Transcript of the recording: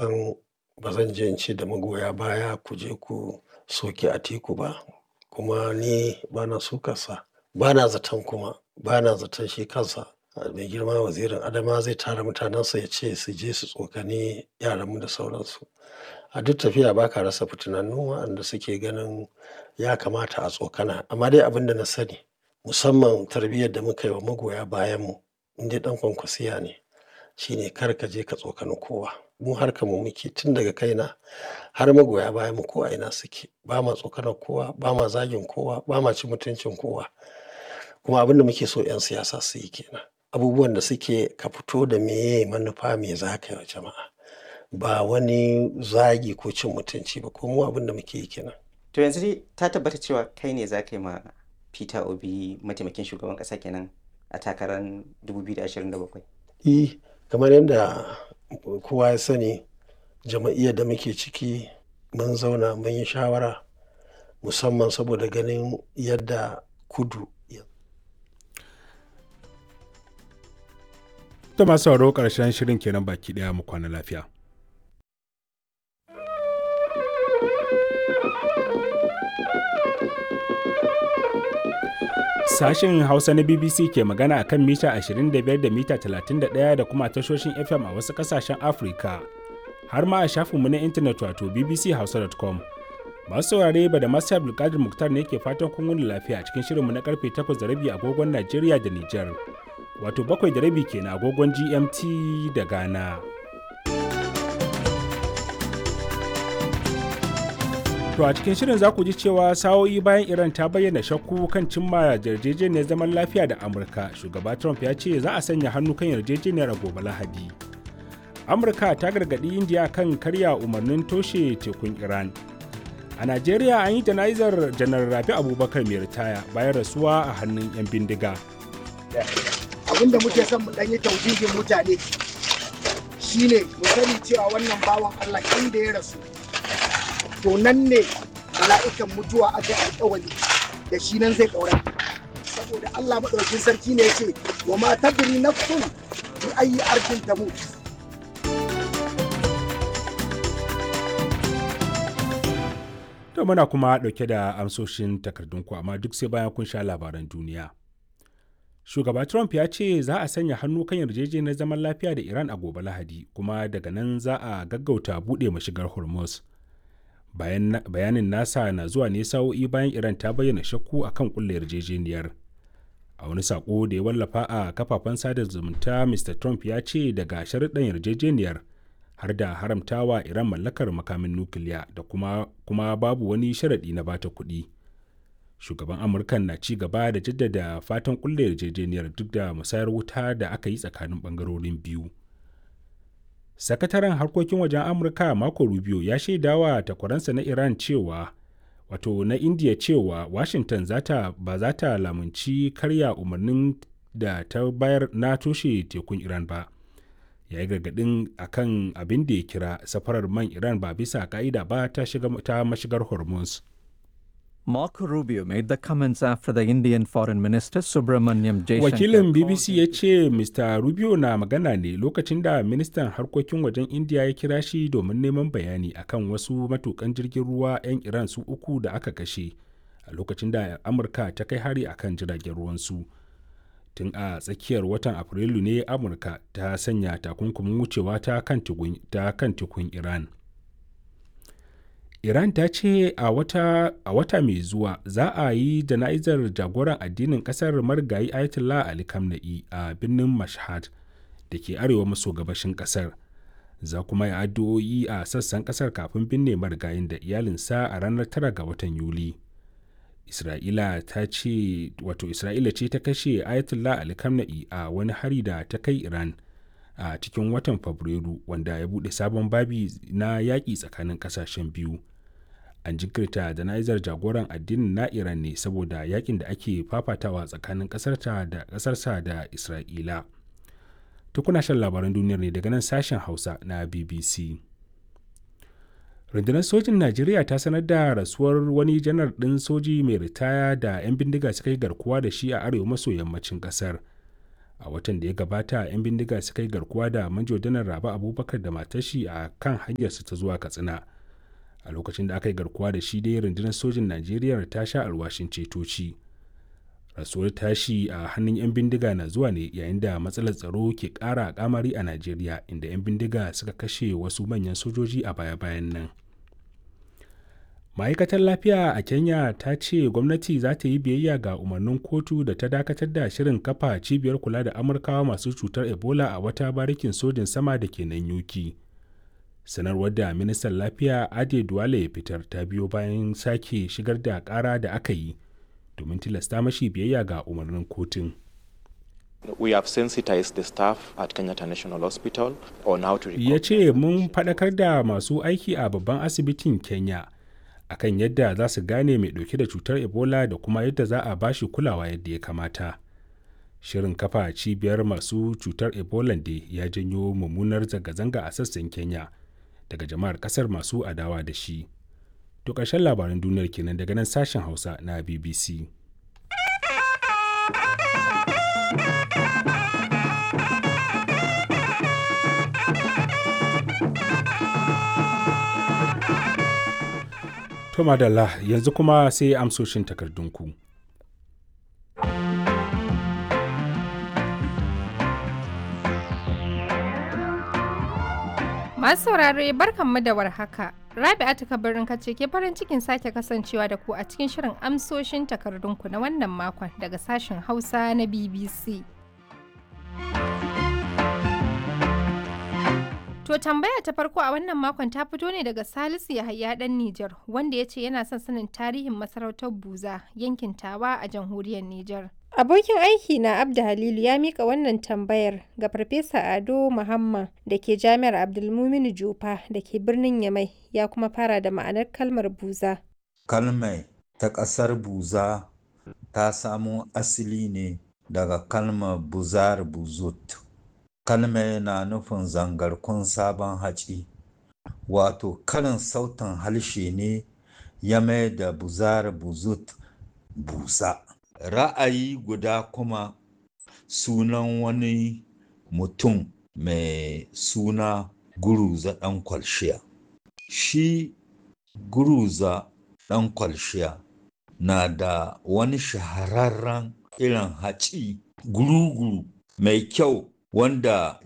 San ba zan je in ce da magoya baya ku je ku soki Atiku ba, kuma ni bana sukarsa. Bana zaton kuma, bana zaton shi kansa mai girma wazirin Adamawa zai tara mutanensa ya ce su je su tsokani yaranmu da sauransu. A duk tafiya ba ka rasa fitinannu waɗanda suke ganin ya kamata a tsokana. Amma dai abin da na sani, musamman tarbiyyar da muka yi wa magoya bayanmu, in dai ɗan kwankwasiya ne, shine kar ka je ka tsokani kowa. Mu harkar mu muke tun daga kaina har magoya bayanmu ko a ina suke. Ba ma tsokanar kowa, ba ma zagin kowa, ba ma cin mutuncin kowa. Kuma abin da muke so 'yan siyasa su yi ke nan. Abubuwan da suke ka fito da meye manufa me za ka yi wa jama'a. Ba wani zagi ko cin mutunci ba. Ko mu abin da muke yi ke nan. To yanzu dai ta tabbata cewa kai ne za ka yi ma Peter Obi mataimakin shugaban ƙasa kenan a takarar 2027. E, kamar yadda kowa ya sani, jam'iyyar da muke ciki mun zauna mun yi shawara musamman saboda ganin yadda kudu ya. To masu sauraro ƙarshen shirin kenan baki ɗaya mu kwana lafiya. Sashen Hausa na BBC ke magana a kan mita 25 da mita 31 da kuma tashoshin FM a wasu ƙasashen Afirka. Har ma a shafinmu na intanet wato bbchausa.com. Masu saurare ba da masu Abdulkadir Muktar ne ke fatan kun wuni lafiya a cikin shirinmu na karfe 8:30 agogon Najeriya da Nijar. Wato 7:30 kenan agogon GMT da Ghana. To a cikin shirin za ku ji cewa sa'o'i bayan Iran ta bayyana shakku kan cimma yarjejeniyar zaman lafiya da Amurka, shugaba Trump ya ce za a sanya hannu kan yarjejeniyar a gobe Lahadi. Amurka ta gargaɗi Indiya kan karya umarnin toshe tekun Iran. A Najeriya an yi jana'izar Janar Rabi Abubakar mai ritaya bayan rasuwa a hannun 'yan bindiga. Abin da muke son mu ɗan yi tauhidin mutane shine mu sani cewa wannan bawan Allah inda ya rasu to nan ne mala'ikan mutuwa aka yi alkawari da shi nan zai ƙaura saboda Allah maɗaukin sarki ne ya ce wa ma tadri nafsun bi ayi ardin tamut. To muna kuma ɗauke da amsoshin takardunku amma duk sai bayan kun sha labaran duniya. Shugaba Trump ya ce za a sanya hannu kan yarjejeniyar zaman lafiya da Iran a gobe Lahadi kuma daga nan za a gaggauta buɗe mashigar Hormuz. Bayanin nasa na zuwa ne sa'o'i bayan Iran ta bayyana shakku akan kulle yarjejeniyar. A wani sako da ya wallafa a kafafen sada zumunta Mr. Trump ya ce daga sharuɗan yarjejeniyar har da haramtawa Iran mallakar makamin nukiliya da kuma babu wani sharaɗi na bata kuɗi. Shugaban Amurkan na ci gaba da jaddada fatan kulle yarjejeniyar duk da musayar wuta da aka yi tsakanin ɓangarorin biyu. Sakataren harkokin wajen Amurka Marco Rubio ya shaidawa takwaransa na Iran cewa wato na India cewa Washington zata ba za ta lamunci karya umarnin da ta bayar na toshe tekun Iran ba. Ya yi gargaɗin a kan abin da ya kira safarar man Iran ba bisa ka'ida ba ta shiga ta mashigar Hormuz. Marco Rubio made the comments after the Indian Foreign Minister Subramanyam Jaishankar. Wakilin BBC ya ce Mr. Rubio na magana ne lokacin da ministan harkokin wajen India ya kira shi domin neman bayani akan wasu matukan jirgin ruwa 'yan Iran su uku da aka kashe a lokacin da Amurka ta kai hari akan jiragen ruwansu. Tun a tsakiyar watan Afrilu ne Amurka ta sanya takunkumin wucewa ta kan tekun Iran. Iran ta ce a wata mai zuwa za a yi jana'izar jagoran addinin kasar marigayi Ayatollah Ali Khamenei a birnin Mashhad da ke arewa maso gabashin kasar. Za kuma yi addu'o'i a sassan kasar kafin binne marigayin da iyalinsa a ranar 9 ga watan Yuli. Isra'ila ta ce wato Isra'ila ce ta kashe Ayatollah Ali Khamenei a wani hari da ta kai Iran. A cikin watan Fabrairu wanda ya buɗe sabon babi na yaƙi tsakanin ƙasashen biyu. An jinkirta jana'izar jagoran addinin na Iran ne saboda yakin da ake fafatawa tsakanin ƙasarta da ƙasarsa da Isra'ila. Tukuna shan labaran duniyar ne daga nan sashen Hausa na BBC. Rundunar sojin Najeriya ta sanar da rasuwar wani janar ɗin soji mai ritaya da 'yan bindiga suka yi garkuwa da shi a arewa maso yammacin ƙasar. A watan da ya gabata 'yan bindiga suka yi garkuwa da Manjo Janar Rabe Abubakar da matar shi a kan hanyarsu ta zuwa Katsina. A lokacin da aka yi garkuwa da shi dai rundunar sojin Najeriya ta sha alwashin cetoci. Rasuwar tashi a hannun 'yan bindiga na zuwa ne yayin da matsalar tsaro ke ƙara kamari a Najeriya, inda 'yan bindiga suka kashe wasu manyan sojoji a baya-bayan nan. Ma'aikatar lafiya a Kenya ta ce gwamnati za ta yi biyayya ga umarnin kotu da ta dakatar da shirin kafa cibiyar kula da Amurkawa masu cutar Ebola a wata barikin sojin sama da ke nan Yuki. Sanarwar da ministan lafiya Ade Duwale ya fitar ta biyo bayan sake shigar da kara da aka yi domin tilasta mashi biyayya ga umarnin kotun. We have sensitized the staff at Kenyatta National Hospital on how to Ya ce mun faɗakar da masu aiki a babban asibitin Kenya akan yadda za su gane mai ɗauke da cutar Ebola da kuma yadda za a bashi kulawa yadda ya kamata. Shirin kafa cibiyar masu cutar Ebola da ya janyo mummunar zanga-zanga a sassan Kenya daga jama'ar kasar masu adawa da shi. To ƙarshen labaran duniyar kenan daga nan sashen Hausa na BBC. To madalla, yanzu kuma sai amsoshin takardunku. Masu saurare, barkanmu da warhaka. Rabi'atu Kabirin kace ke farin cikin sake kasancewa da ku a cikin shirin amsoshin takardunku na wannan makon daga sashen Hausa na BBC. To tambaya ta farko a wannan makon ta fito ne daga Salisu Yahaya dan Nijar, wanda ya ce yana son sanin tarihin masarautar Buza, yankin Tawa a jamhuriyar Nijar. Abokin aiki na Abda Halilu ya mika wannan tambayar ga Farfesa Ado Muhammad da ke Jami'ar Abdulmuminu Jofa da ke birnin Yamai, ya kuma fara da ma'anar kalmar Buza. Kalmai ta ƙasar Buza ta samo asali ne daga kalmar Buzar Buzut. Kalmai na nufin zangarkun sabon haci, wato karin sautin harshe ne ya mai da Buzar Buzut Buza. Ra'ayi guda kuma sunan wani mutum mai suna Guruza ɗan Kwalshiya. Shi Guruza ɗan Kwalshiya na da wani shahararren irin haci guruguru mai kyau wanda